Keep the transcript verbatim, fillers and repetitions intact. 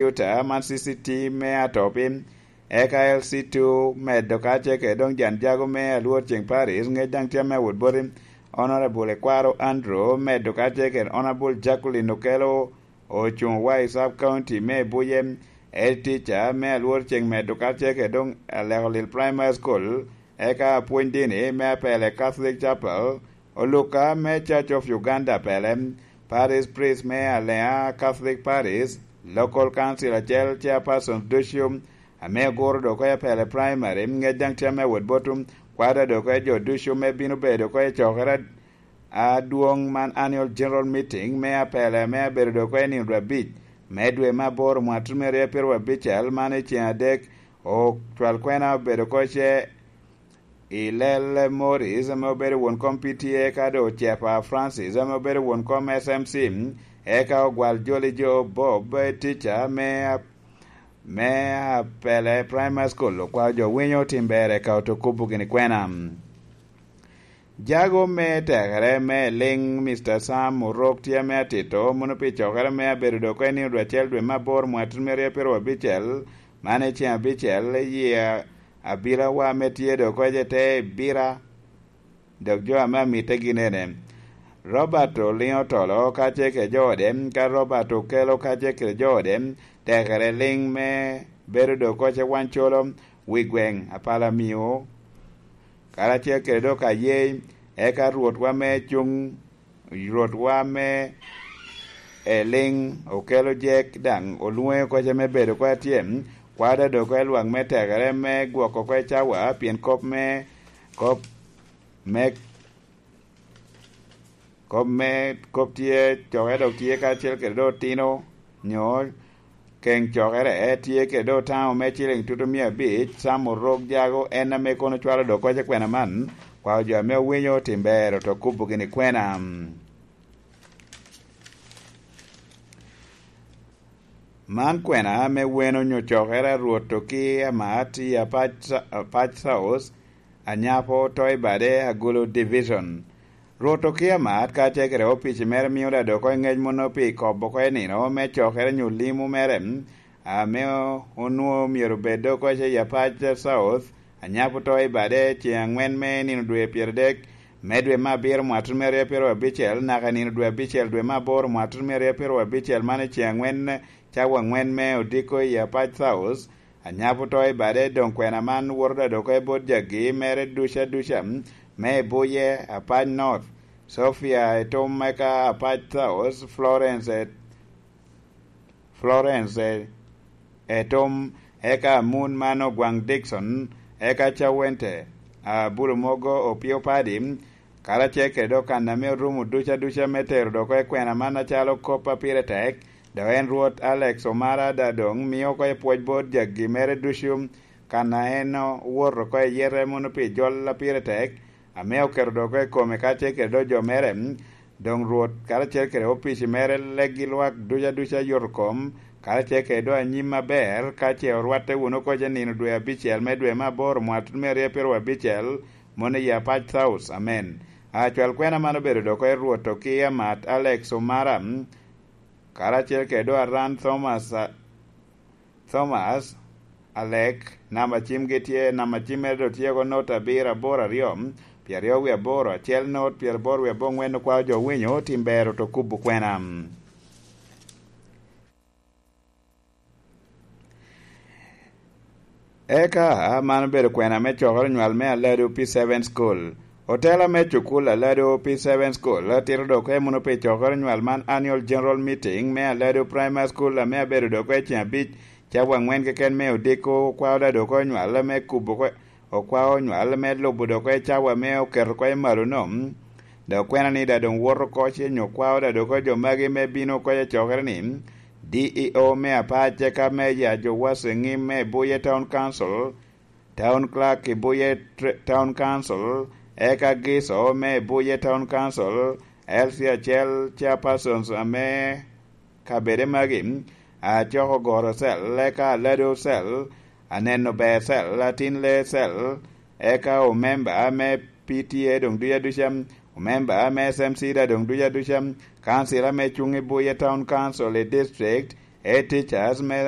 Utah, man C C T me Atopi, eka L C two medo kacel kede doŋ jan jago me Alwor Ceng Paris, ŋec daŋ tye ame awot boti Honorable Ekwaro Andrew medo kacel kede Honorable Jacqueline Okello, ocuŋ wa i Sub County me Buye, Ed Teacher me Alwor Ceng medo kacel kede doŋ Aleko Lil Primary School, eka apwony dini me Apele Catholic Chapel, Oluka me Church of Uganda Apele, Parish Priest me Alea Catholic Parish, Local Council acel, Chairpersons ducu, ame oguro dok oko i Apele Primary, ŋec daŋ tye ame awot botwu, kwada dok oko i jo ducu me bino bedo oko i cokere adwoŋ man, Annual General Meeting me Apele, ame abedo dok oko i nino dwe abic me dwe me aboro mwaka tutumia aryo pyeraryo abicel, man i ceŋ adek, ocwal kwena obedo oko ce i Lel Morris, ame obedo won kom P T A, ka doŋ Ocepa Francis, ame obedo won kom S M C, eka Ogwal Joli Jo Bob, teacher me, me Apele Primary School, okwao jo winyo tim ber, eka oto kubo gini kwena. Jago me tekere me liŋ, Mister Sam Orok tye ame atito, mono pi cokere me abedo dok oko i nino dwe acel dwe me aboro mwaka tutumia aryo pyeraryo abicel, man i ceŋ abicel, i abilawa me tye dok oko i te bira, dok jo ame amitte gin ene, Robert Oliŋo Tolo kacel kede jo ode, ka Robert Okello kacel kede jo ode, tekere liŋ me bedo dok oko ce Wancolo, wi gweŋ, Apalamio, karacel kede dok Ayei, eka Rwotwa me cuŋ, Rwotwa me Eliŋ Okello Jek daŋ olwoŋe oko ce me bedo oko atye, kwada dok oko i lwak me tekere me gwoko oko i cawa, pien kop me, kop me, kop me, kop tye, coke dok tye kacel kede dok otino, nyo keŋ cokere, tye kede dok taŋo me ciliŋ tutumia abic, Sam Orok Jago, en ame kono cwalo dok oko ce kwena man, kwao jo ame owinyo tim ber oto kubo gini kwena. Man kwena ame weno onyo cokere a Rwot Oki Amat i Apac, Apac South, Anyapo, Toi Bade, Agulu Division. Rwot Oki Amat kacel kede opici mere mio da dok oko i ŋec mono pi kobo oko i nino me cokere nyo limo mere, ame onwoŋo myero obed dok oko i Apac South, Anyapo Toi Bade, ceŋ aŋwen me nino dwe pyeradek me dwe me abiro mwaka tutumia aryo pyeraryo abicel, naka i nino dwe abicel dwe me aboro mwaka tutumia aryo pyeraryo abicel, man i ceŋ aŋwen, cawa aŋwen me odiko i Apac South, Anyapo Toi Bade. Doŋ kwena man woto da dok oko i bot jagi mere duca duca, me i Buye, Apac North, Sofia i Tom, eka Apac South, Florence, Florence, Etom, eka Amun man Ogwaŋ Dikson, eka Cawente, Abulu Mogo, Opio Padi, karacel kede dok kan ame orumo duca duca me tero dok oko i kwena man acalo kop a pire tek, dok en Rwot Alex Omara da doŋ mio oko i pwoc bot jagi mere ducu, kan a en owoto oko i yete mono pi jol a pire tek, ame oketo dok oko i kome kacel kede dok jo mere, doŋ Rwot karacel kede opici mere, leggi lwak duca duca yoto kom, karacel kede dok anyim aber, ka ce orwatte wunu oko ce nino dwe abicel me dwe me aboro mwaka tutumia aryo pyeraryo abicel, mono i Apac South. Amen. Acwal kwena man obedo dok oko i Rwot Oki Amat Alex Omara, karacel kede dok Aran Thomas, a, Thomas Alek, namba cimgi tye, namba cim mere doŋ tye oko not abiro aboro aryo, pyeraryo wie aboro acel not, pyeraboro wie aboŋwen, okwao jo winyo tim ber oto kubo kwena. Eka man obedo kwena me cokere onywal me Alado P seven School. Otela me cukul Alado P seven School tito dok oko mono pi cokere onywal man, Annual General Meeting me Alado Primary School, ame abedo dok oko i ceŋ abic, cawa aŋwen keken me odiko, okwao da dok oko onywal me kubo oko, okwao onywal me lubo dok oko i cawa ame oketo oko i malo-nu. Dok kwena ni da doŋ woto oko ce nyo kwao da dok oko jo magi me bino oko i cokere ni, D E O me Apac, eka Meja Jowas Eŋim me Buye Town Council, Town Clerk i Buye Tr-, Town Council, eka Giso me Buye Town Council, L C acel, Chairpersons ame kabede magi, Acoko Goro Cell, eka Alado Cell, Aneno Ber Cell, Atin Lee Cell, eka omemba me P T A doŋ duca duca, omemba me S M C da doŋ duca duca, kancila me cuŋ i Buye Town Council i district, Ete Charles Mera